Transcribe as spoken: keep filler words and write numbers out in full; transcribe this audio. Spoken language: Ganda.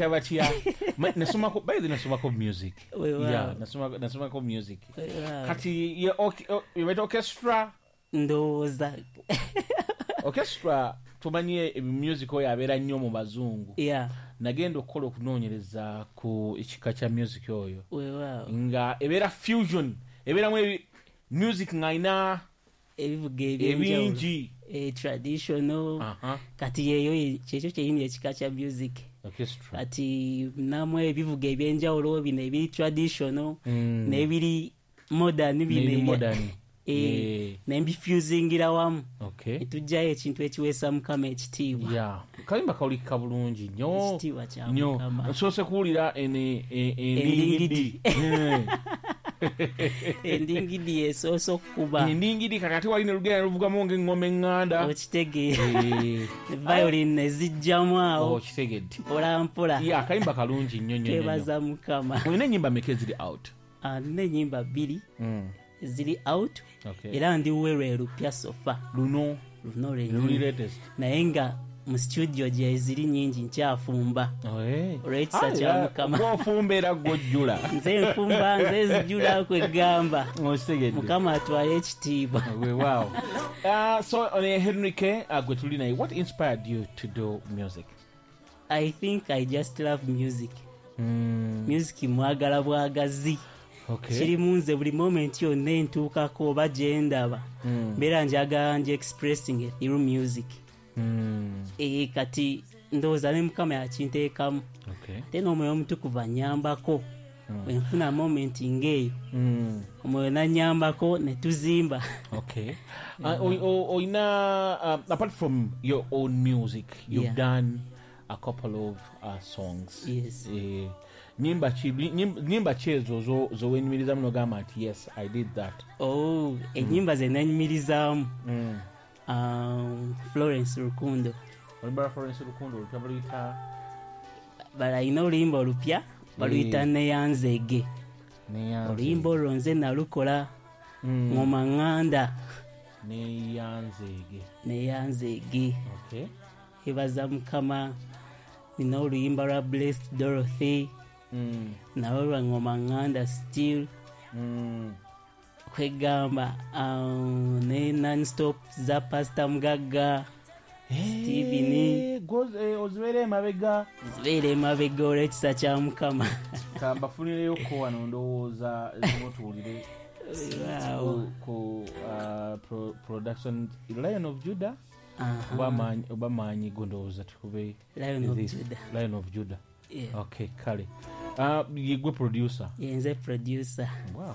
Batya? Ma- nasomako, by the nasomako music. Weewaawo. Yeah, nasomako nasomako music. Weewaawo. Kati ye orch- o- ye orchestra. Ndowooza. Orchestra, tumanye music oyo abeera nnyo mu bazungu. Yeah nagenda okukola okunoonyereza ku ekika kya music oyo, weewaawo nga ebeera fusion, ebeeramu ebi- music ng'alina ebivuga ebyenjawulo, ebingi. eh, traditional. Aha. Kati yeyo kyekyo kyeyini ekika kya music. Orchestra. Kati namu ebivuga ebyenjawulo bino ebiri traditional Mm. n'ebiri modern bino n'ebiri ebya- modern. Eh, Eh, nembifusingira wamu, okay netujjayo ekintu ekiweesa Mukama ekitiibwa. Yeah, kayimba kawulikika bulungi nnyo. Ekitiibwa kya nnyo. Mukama. Nsoose kuwulira ene- e- endingidi. Endingidi. Eh. Endingidi esoose okukuba. Endingidi, kati ate wali ne lugenda luvugamu ng'eŋŋoma eŋŋanda. Okitegeera? Eh, violin nezijjamu awo. Okitegedde? Mpola mpola. Yeah, akayimba kalungi nnyo nnyo nnyo nnyo. Twebaza Mukama. Olina ennyimba meka eziri out? Ah, nina ennyimba bbiri Mm. ziri out. Okay. Era ndi werwe lupya so far. Luno? Luno luli lwenyini. Latest. Naye nga mu studio gye ziri nyingi, nkyafumba Eh. olw'ekisa Ah, kya era Mukama. gw'ofumba era gw'ojjula. Nze nfumba, nze zijula, kwegamba Okitegedde? Mukama atwale ekitiibwa. Weewaawo. Uh, so uh, Henry K, uh, gwe tuli naye, what inspired you to do music? I think I just love music. mm. Music mwagala bwagazi. okay. Kiri mu nze, buli moment yonna entuukako oba gyendaba, Mm. mbeera njagala nje expressing through music. Mm. e, kati ndowooza ne Mukama yakinteekamu, okay. ate n'Omwoyo Omutukuvu anyambako. Bwenfuna moment ng'eyo, Mm. Omwoyo nanyambako ne tuzimba. Okay. Uh, o- o- oyina uh, apart from your own music, you've Yeah. done a couple of uh, songs. Yes. Eh, nyimba ki nyimba- nyimba ki ezo zo- zowenyumirizamu nogamba nti, "Yes, I did that"? Oh, ennyimba ze nanyumirizaamu, mm. um, Florence Rukundo. Oluyimba Florence Rukundo olupya baluyita? Balayina oluyimba olupya baluyita Eh. Neyanzege. Neyanzege. Oluyimba olwo nze nalukola, Mm. ngoma ŋŋanda. Neyanzege. Neyanzege. Okay. Ebaza Mukama, nina oluyimba lwa Blessed Dorothy, mm. nalwo lwa ngoma ŋŋanda still. Mm. Kwegamba um, ne nonstop za Pastor Mugagga Steven. Eh, goz- eh, ozibeera emabega. Zibeera emabega olw'ekisa kya Mukama. Kambafunireyoko wano, ndowooza ezimu tuwulire. Waawo. ku, ku uh, pro, production Lion of Judah. Aha. Oba maanyi- oba maanyi go, ndowooza tukube Lion of this. Judah. Lion of Judah. Yeah. Okay, kale, uh, yegwe producer? Yenze producer. Wow.